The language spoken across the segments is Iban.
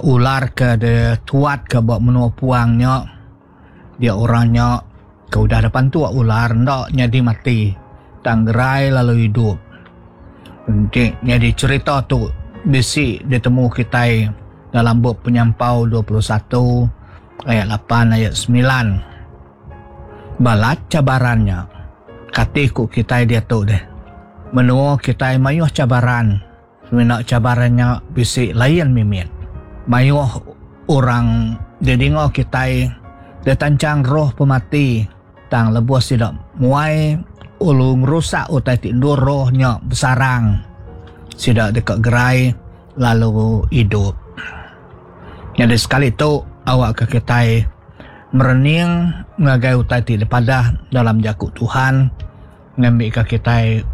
Ular ke dituatka ba menua puang nya dia orang nya ke udah dipantuk ular enda nyadi mati tang gerai lalu idup. Enti nyadi cherita tu bisi ditemu kitai dalam bup Penyampau 21 ayat lapan ayat semilan. Balat cabaran nya kati ku kitai diatu deh. Menua kitai mayuh cabaran. Semina cabaran nya bisi lain mimit. Mayuh orang didinga kitai ditanchang roh pemati tang lebuh sida muai ulu ngerusak utai ti endur roh nya besarang, sida deka gerai lalu idup. Nyadi sekali tu awakka kitai merening ngagai utai ti dipadah dalam jaku Tuhan. Ngambika kitai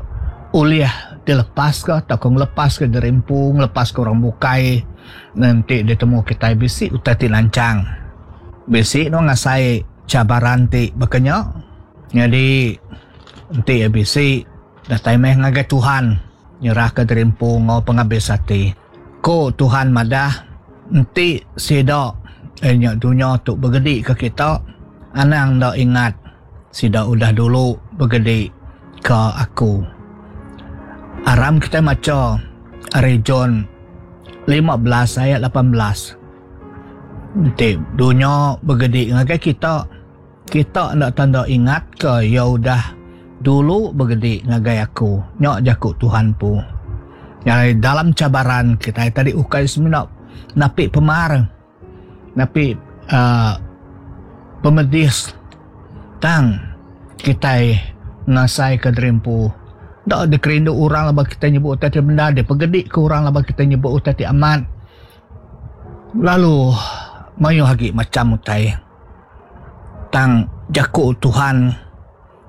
ulih dilepaska tauka ngelepaska diri empu, ngelepaska orang bukai enti ditemu kitai bisi utai ti lanchang. Bisi nuan ngasai cabaran ti baka nya? Nyadi enti iya bisi datai meh ngagai Tuhan nyerahka diri empu enggau pengabis ati. Ku Tuhan madah enti sida iya nya dunya tu begedika kita anang enda ingat. Sida udah dulu begedi ka aku. Aram kitai macha ari John 15 ayat 18. Enti dunya begedi ngagai kita, kita enda tanda ingatka iya udah dulu begedi ngagai aku. Nya jaku Tuhan empu. Nyadi dalam cabaran kitai tadi ukai semina napi pemar. Napi uhh pemedis tang kitai ngasaika diri empu enda dikerindu orang laban kitai nyebut utai ti bendar dipegedi ke orang laban kitai nyebut utai ti amat lalu mayuh agi macam utai tang jaku Tuhan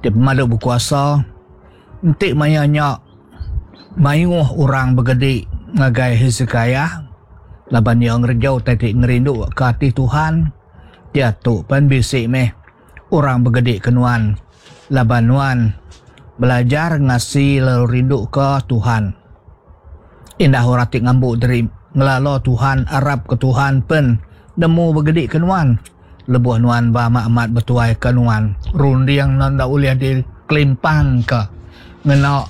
ti pemadu bekuasa enti maya nya. Mayuh orang begedi ngagai Hesekiah laban iya ngereja utai ti ngerinduka ati Tuhan. Diatu pen bisi meh orang begedi ke nuan laban nuan belajar ngasi lalu rinduka Tuhan. Indah orang ti ngambu diri ngelala Tuhan, arapka Tuhan pen nemu begedi ke nuan. Lebuh nuan ba amat-amat betuaika nuan, runding nuan enda ulih dikelimpangka ngena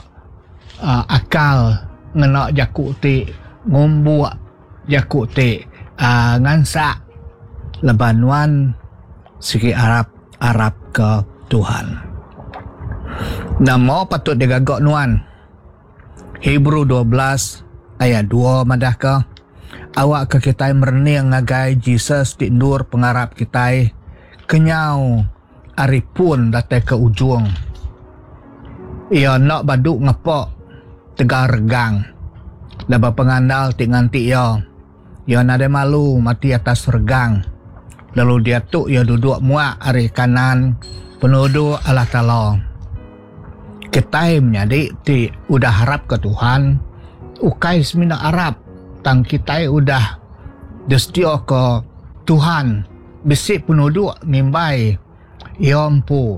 uhh akal, ngena jaku ti ngumbuk, jaku ti uhh ngansak laban nuan sigi arap arapka Tuhan. Nama patut digaga nuan? Hebrew 12 ayat 2 madahka, Awakka kitai merening ngagai Jesus ti endur pengarap kitai kenyau ari pun datai ke ujung. Iya enda badu ngepa tegal regang laban pengandal ti nganti iya. Iya nadai malu mati atas regang, lalu diatu iya duduk muak ari kanan penuduk Allah Taala. Kitai menyadi ti udah arapka Tuhan, ukai semina arap tang kitai udah disediaka Tuhan bisi penuduk ngimbai Iya empu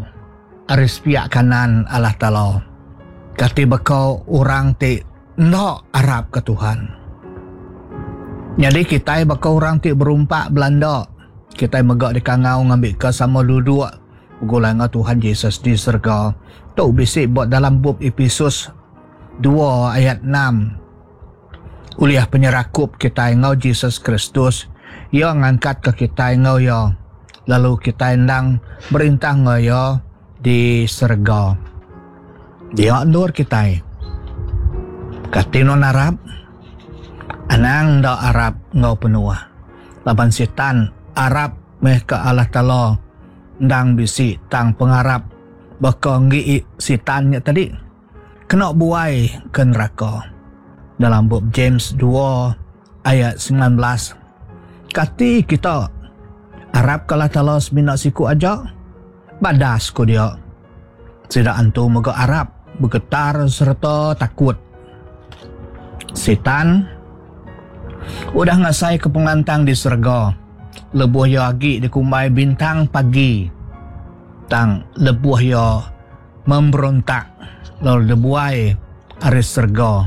ari sepiak kanan Allah Taala. Kati baka orang ti Enda arapka Tuhan. Nyadi kitai baka orang ti berumpak belanda. Kitai mega dikangau ngambika sama duduk begulai enggau Tuhan Jesus di serega. Tu bisi ba dalam bup Epesus 2 ayat 6. Ulih penyerakup kitai enggau Jesus Kristus, Iya ngangkatka kitai enggau Iya, lalu kitai endang merintah enggau Iya di serega. Dia endur kitai. Kati nuan arap? Anang enda arap enggau penuh. Laban Sitan arap meh ke Allah Taala endang bisi tang pengarap baka enggi Sitan nya tadi kena buai ke neraka. Dalam bup James 2 ayat 19 Kati kita arap ke Allah Taala semina siku aja? Badas ku dia. Sida antu mega arap, begetar sereta takut. Sitan udah ngasaika pengelantang di serega lebuh iya agi dikumbai bintang pagi. Tang lebuh iya memberontak lalu dibuai ari serega,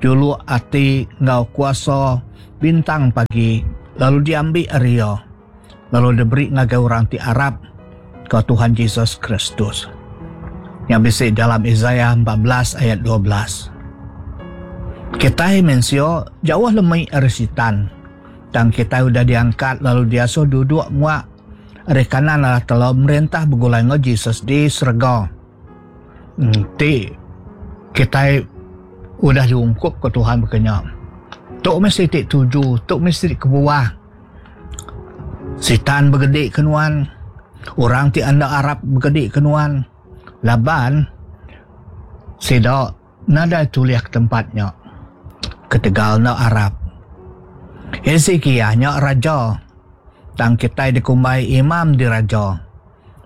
juluk ati enggau kuasa. Bintang Pagi lalu diambi ari iya lalu diberi ngagai orang ti arap ka Tuhan Jesus Kristus. Nya bisi dalam Isaiah 14 ayat 12. Kitai mensia jauh lemi ari Sitan, tang kitai udah diangkat lalu diasuh duduk muak ari kanan Allah Taala merintah begulai enggau Jesus di serega. Enti kitai udah diungkupka Tuhan baka nya, tu meh siti tuju, tu meh siti kebuah Sitan begedi ke nuan, orang ti enda arap begedi ke nuan laban sida nadai tulih ke tempat nya ketegal enda arap. Hesekiah nya raja tang kitai dikumbai imam diraja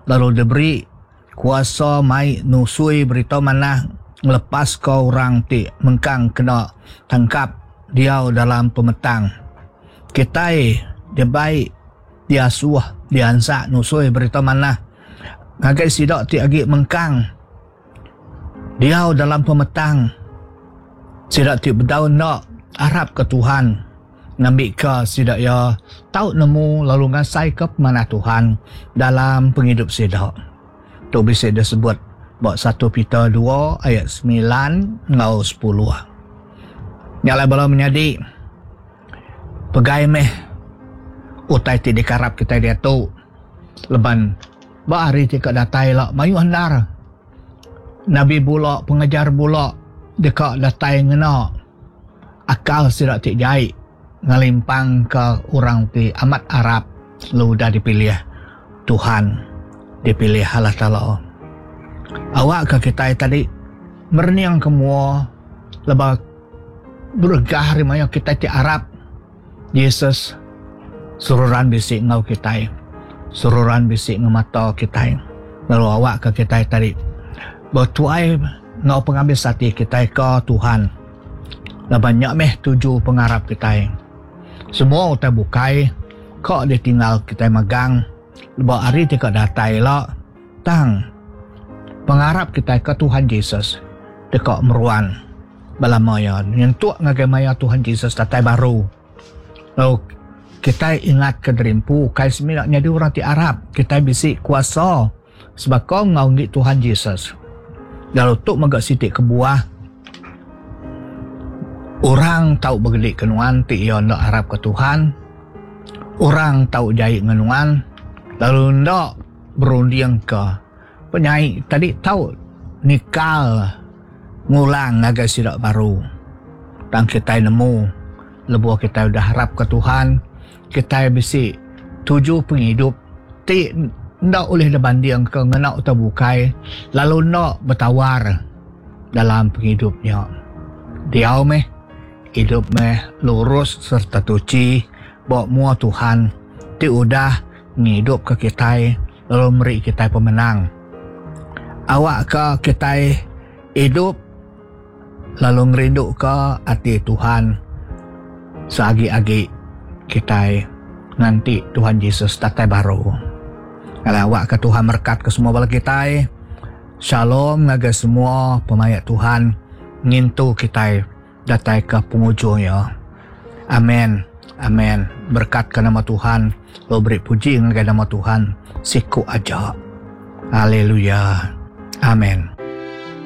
lalu diberi Kuasa mai nusui berita manah ngelepaska orang ti mengkang kena tangkap diau dalam pemetang. Kitai dibai diasuh diansak nusui berita manah ngagai sida ti agi mengkang diau dalam pemetang. Sida ti bedau enda arapka Tuhan. Ngambika sida iya tau nemu lalu ngasaika pemanah Tuhan dalam pengidup sida. Tu bisi disebut ba satu Peter dua ayat semilan enggau sepuluh. Nya alai bala menyadi, pegai meh utai ti dikarap kitai diatu laban ba hari ti ka datai ila mayuh endar nabi bula pengajar bula deka datai ngena. Akal sida ti jai ngelimpangka orang ti amat arap lalu udah dipilih Tuhan, dipilih Allah Taala. Awakka kitai tadi mereningka mua lebuh beregah ari maya kitai ti arap Jesus seruran bisi enggau kitai, seruran bisi ngemata kitai lalu awakka kitai tadi betuai enggau pengabis ati kitai ke Tuhan. Laban nya meh tuju pengarap kitai. Semua utai bukai ka ditinggal kitai megang ba hari ti ka datai ila tang pengarap kitai ke Tuhan Jesus deka meruan belama iya nyentuk ngagai maya Tuhan Jesus datai baru. Lalu kitai ingat ke diri empu ukai semina nyadi orang ti arap, kitai bisi kuasa sebaka enggau enggi Tuhan Jesus. Lalu tu mega siti kebuah orang tau begedi ke nuan ti iya enda arap ke Tuhan. Orang tau jai enggau nuan lalu enda berunding ke penyai tadi tau nikal ngulang ngagai sida baru. Tang kitai nemu lebuh kitai udah arap ke Tuhan, kitai bisi tuju pengidup ti enda ulih dibandingka ngena utai bukai lalu enda betawar dalam pengidup nya. Diau meh idup meh lurus sereta tuchi ba mua Tuhan ti udah ngidupka kitai lalu meri kitai pemenang. Awakka kitai idup lalu ngerinduka ati Tuhan seagi-agi kitai nganti Tuhan Jesus datai baru. Alai awakka Tuhan merekatka semua bala kitai. Shalom ngagai semua pemaik Tuhan ngintu kitai datai ke pengujung iya. Amen. Amen. Berekatka nama Tuhan lalu beri puji ngagai nama Tuhan siku aja. Haleluya. Amen.